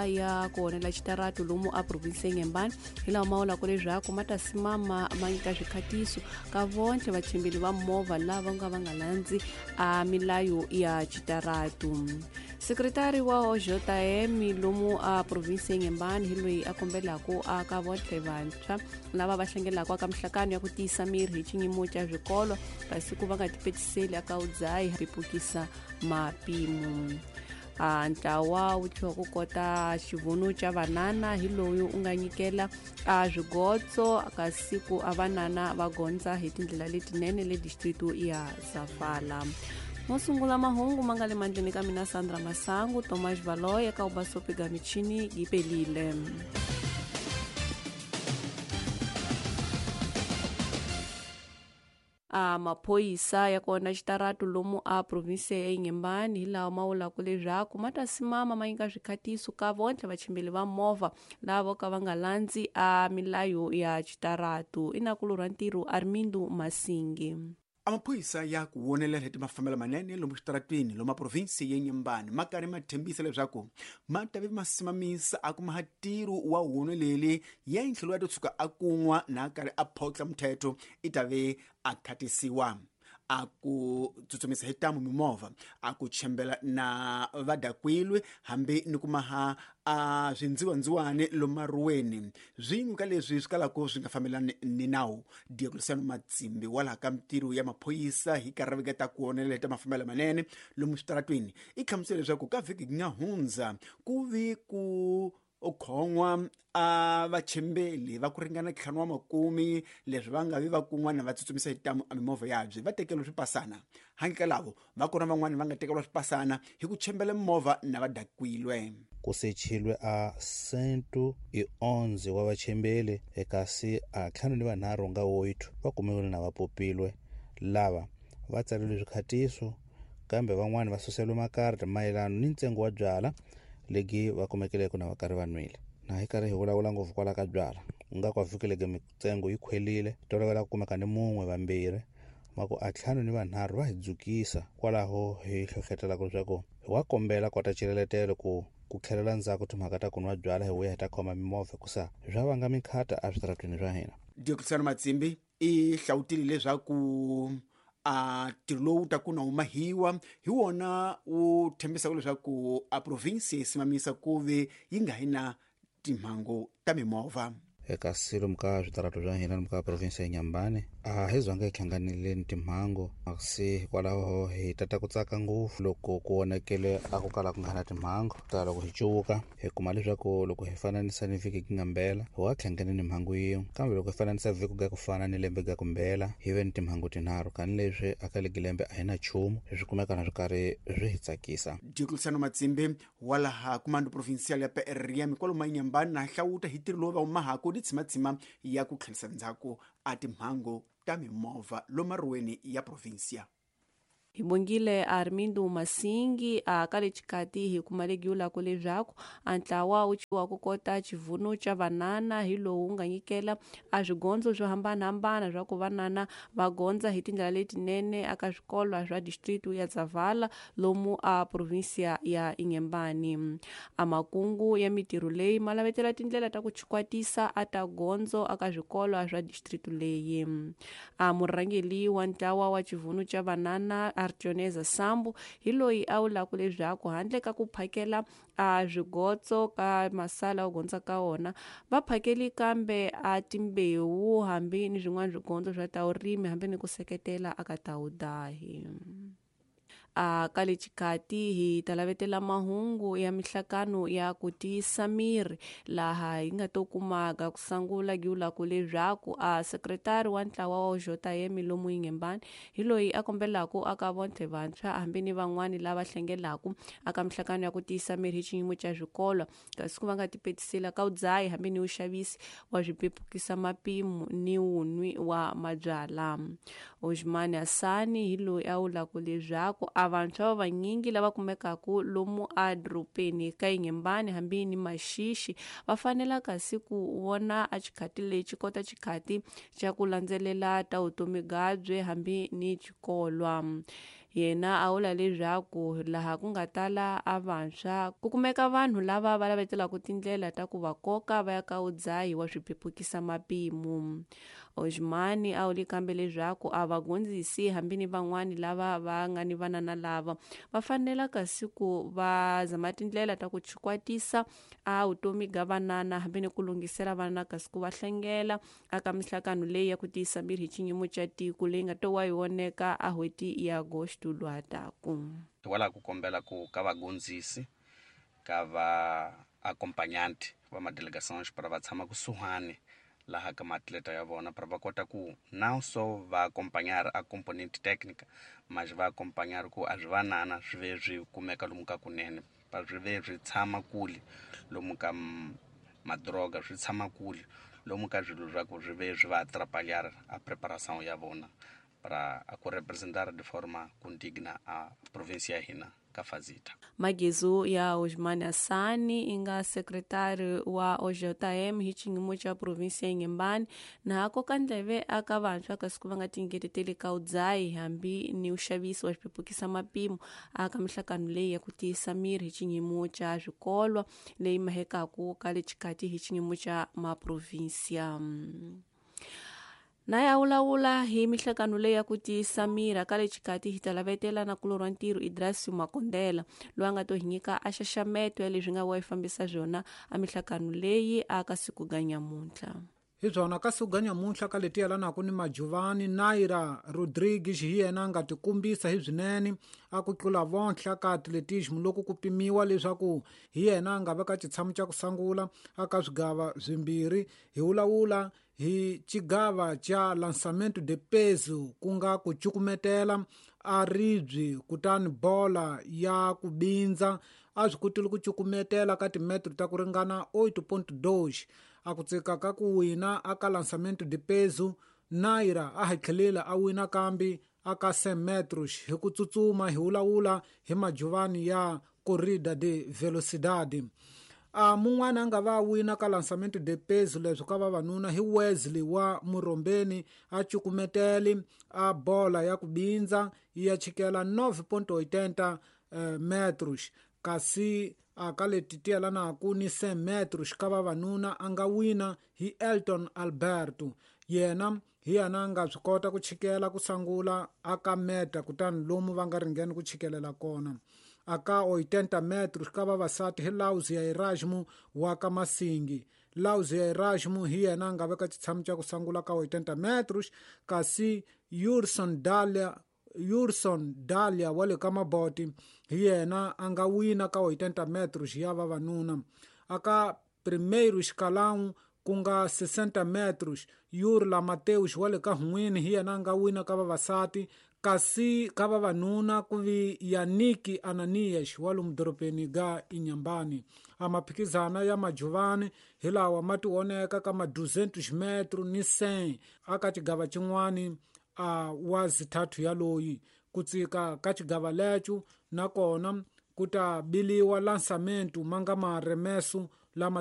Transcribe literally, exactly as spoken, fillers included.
Ya ku onela xitaratu lomu a province Inhambane hi lawa ma vulaka leswaku ma ta simama ma nyika swikhatiso ka vontlhe vachimbeli va movha lava nga va nga landzi a milayo ya xitaratu. Sekretari wa O J M lomu a province Inhambane hi loyi a kombelaka a ka vontlhe vantshwa lava va hlengelaka ka mihlangano ya ku tiyisa miri hi xinyimo xa swikolo kasi ku va nga tipetiseli aka udzayi pepukisa mapimo. A ntlawa wu tlhela ku kota xivono xa vanana hi loyi u nga nyikela a swigotso kasi ku a vanana va gondza hi tindlela letinene le district ya Safala. Mo sungula mahungu ma nga le mandleni ka mina Sandra Masangu, Thomas Valoy eka Ubasopi ga michini gipelile. A maphoyisa ya kona xitaratu lomu a province ya Inhambane hi lawa ma vulaka leswaku ma ta simama ma nyika swikhatiso ka vontlhe vachimbeli va movha lava ka va nga landzi a milayo ya xitaratu. I nakulorha ntirho Armindo Masingi. Amaphoyisa ya ku wonelela hi timafambelo manene lomu xitaratwini lomu province ya Inhambane ma karhi ma thembisa leswaku ma ta ve ma simamisa a kuma ntirho wa woneleli ya ntlhelo ya to tshuka a kun'wa na karhi a photla mthetho i ta ve a khatisiwa a ku tsutsumisa hi tamu mimovha a ku chembela na vadakwilwe hambi ni kumaha a swindziwandziwani lomaruweni swin'we ka leswi swi kalaka swi nga fambelani ni nawu. Diocleciano Matsimbi wa laha ka mitirho ya maphoyisa hi karhi va ta ku onelela ta mafambelo manene lomu switaratwini i hlamusela leswaku ka vhiki nga hundza ku vi ku u khon'wa a vachembeli va ku ringana ntlhanu wa makumi leswi va nga vi va kun'wana va tsutsumisa hi tamu a mimovha yabye va tekeriwa swipasana handle ka lavo va kona van'wani va nga tekeriwa swipasana hi ku chembela mimovha na va dakwilwe. Ku sechilwe a cento e onze wa vachembeli kasi a ntlhanu ni vanharhu nga oito va kumiwile na va popilwe lava va tsaleriwe swikhatiso kambe van'wani va suseliwe makarata mayelana ni ntsengo wa byala legi va kumekeleke na va karhi va nwile. Na hi karhi hi vulavula ngopfu kwala ka byala nga kwa vhikeleke mitsengo yi khwelile tolovela ku kumeka ni mun'we vambirhi ma ku a ntlhanu ni vanharhu va hi dzukisa kwalaho hi hlohletelaka leswaku hi wa kombela kota xileletelo ku ku tlhelela ndzhaku timhaka ta ku nwa byala hi vuya hi ta khoma mimovha hikusa swa vanga mikhata eswitaratwini swa hina. Diocleciano Matsimbi i hlawutile leswaku a ntirho lowu ta ku na humahiwa hi wona wu thembisaka leswaku a province yi simamisa ku ve yi nga hi na timhangu ta mimovha. Eka lomu ka switaratu swa hina lomu ka province ya Inhambane a hi zanga hi hlanganile ni timhangu kasi hikwalaho hi tata ku tsaka ngopfu loko ku onhakele a ku kala ku nga na timhangu ta loko hi cuvuka hi kuma leswaku loko hi fananisa ni vhiki ku nga mbela hi wa hlangane ni mhangu yin'we kambe loko hi fananisa vhiki ga ku fana ni lembe ga ku mbela hi ve ni timhangu tinharhu kani leswi aka legi lembe a hi na nchumu swi kumeka na swi karhi swi hi tsakisa. Diocleciano Matsimbi wa laha Comando Provincial ya P R M kwalomu Inhambane na hlawuta hi ntirho lowu va humahaka ni tshimatsima ya ku tlherisa ndzhaku a timhangu ta mimovha lomaruweni ya provincia. Hi bongile Armindo Masingi a ka le xikati hi kuma legiwulaka leswaku a ntlawa wu chiwa ku kota xivuno xa vanana hi lowu wu nga nyikela a swigondzo swo hambanahambana swa ku vanana va gondza hi tindlela letinene aka swikolo swa district ya Zavala lomu a provincia ya Inhambane. A makungu ya mitirho leyi ma lavetela tindlela ta ku chikwatisa a ta gondzo aka swikolo swa district leyi. A murhangeli wa ntlawa wa xivuno xa vanana Artioneza Sambu hi loyi a vulaka leswaku handle ka ku phakela a swigotso ka masala wu gondza ka wona va phakeli kambe a timbewu hambi ni swin'wana swigondzo swa ta vurimi hambi ni ku seketela aka ta wudahi. A ka le xikati hi ta lavetela mahungu ya mihlangano ya ku tiyisa miri laha hi nga to kumaka ku sangula giwulaka leswaku a sekretari wa ntlawa wa J M lomu Inhambane hi loyi a kombelaka aka vontlhe vantshwa hambi ni van'wani lava hlengelaka aka mihlangano ya ku tiyisa miri hi xiyimo xa swikolo kasi ku va nga tipetisela ka udzayi hambi ni uxavisi wa swipepukisa mapimo ni wunwi wa mabyala. Osman Asani hi loyi a vulaka leswaku a vantshwa va vanyingi lava kumekaka lomu a dorobeni ka Inhambane hambi ni Maxixi va fanela kasi ku vona a xikhati lexi kota xikhati xa ku landzelela ta vutomi byabye hambi ni xikolwa. Yena a vula leswaku laha ku nga tala a vantshwa ku kumeka vanhu lava va lavetelaka tindlela ta ku va koka va ya ka udzahi wa swiphepukisa mapimo. Osmani a vuli kambe leswaku a va gondzisi hambi ni van'wani lava va nga ni vanana lava va fanela kasi ku va zama tindlela ta ku chikwatisa a vutomi ga vanana hambi ni ku lunghisela vanana kasi ku va hlengela aka mihlakano leyi ya ku tiyisa miri hi xinyimo xa tiko leyi nga to wa yi voneka a hweti ya Agosto lwataku. Hikwalaho ku kombela ku ka vagondzisi ka va accompagnante va madelegations para va tshama kusuhani laha ka maatleta ya vona para va kota ku não só va acompanhar a componente técnica, mas va acompanhar ku a swi vanana swi ve swi kumeka lomu ka kunene, pa swi ve swi tshama kule lomu ka madroga, swi tshama kule lomu ka swilo swa ku swi ve swi va atrapalhar a preparação ya vona para a ku representar de forma condigna a província ya hina ka Fazita. Magezu ya Osman Assani inga sekretari wa O J M hi xinyimo xa província ya Inhambane na koka ndleve aka vantshwa kasi ku va nga tingeteteli ka udzahi hambi ni uxavisi wa swiphepukisa mapimo aka mihlakano leyi ya ku tiyisa miri hi xinyimo xa swikolwa leyi mahekaku ka le xikati hi xinyimo xa maprovíncia. Na ya vulavula hi mihlakano leyi ya ku tiyisa miri ka le xikati hi ta lavetela na kulorwa ntirho Idrasio Makondela loyi a nga to hi nyika a xaxameto ya leswi nga wa yi fambisa swona a mihlakano leyi aka siku ga nyamuntlha. Hi byona ka siku ga nyamuntlha ka leti yelanaka ni Majuvani, Naira Rodrigues hi yena a nga tikumbisa hi swinene a ku tlula vontlha ka atletismo loko ku pimiwa leswaku hi yena a nga veka xitshamo xa ku sungula aka swigava swimbirhi. Hi vulavula hi xigava xa lançamento de peso ku nga ku cukumetela a ribyi kutani bola ya ku bindza a swi kotile ku cukumetela ka timetro ta ku ringana oito ponto dois. A ku tsika ka ku wina aka lançamento de peso, Naira a hatlhelela a wina kambe aka cem metros hi ku tsutsuma. Hi vulavula hi Majuvani ya corrida de velocidade. A mun'wana a nga va wina ka lançamento de peso leswi ka vavanuna hi Wesley wa Murombeni a cukumeteli a bola ya ku bindza ya chikela nove ponto oitenta metros, kasi a ka leti ti yelanaka ni cem metros ka vavanuna a nga wina hi Elton Alberto. Yena hi yena a nga swi kota ku chikela ku sungula aka meta kutani lomu va nga ringeni ku chikelela kona. Aka oitenta metros ka vavasati hi Lauzia Erasmo wa ka Masingi. Lauzia Erasmo hi yena a nga veka xitshamo xa ku sungula ka oitenta metros, kasi Yurson Dalia Yurson Dalia wa le ka Maboti hi yena a nga wina ka oitenta metros ya vavanuna. Aka primeiro escalão ku nga sessenta metros, Yurla Mateus wa le ka Hun'wini hi yena a nga wina ka vavasati, kasi ka vavanuna ku vi Yaniki Ananias wa lomu dorobeni ga Inhambane. A maphikizana ya Majuvani hi lawa ma tioneka ka ma duzentos metro ni cem aka xigava xin'wani a wa zithathu ya loyi. Ku tsika ka xigava lecho nakona ku ta biliwa lançamento ma nga maremeso lama